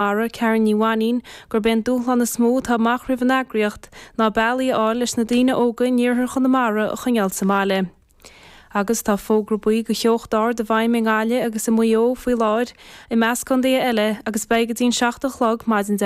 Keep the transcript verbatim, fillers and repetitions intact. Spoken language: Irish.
Chonamara, Karen Ní Mhainín, gurb é an dúshlán is mó atá amach roimh an eagraíocht ná bealaí a fháil leis na daoine óga in iarthar Chonamara a choinneáil sa mbaile. Agus tá fógra buí do theocht ard i bhfeidhm i nGaillimh agus i Maigh Eo faoi láthair, i measc contaetha eile, agus beidh go dtí an seacht a chlog maidin Dé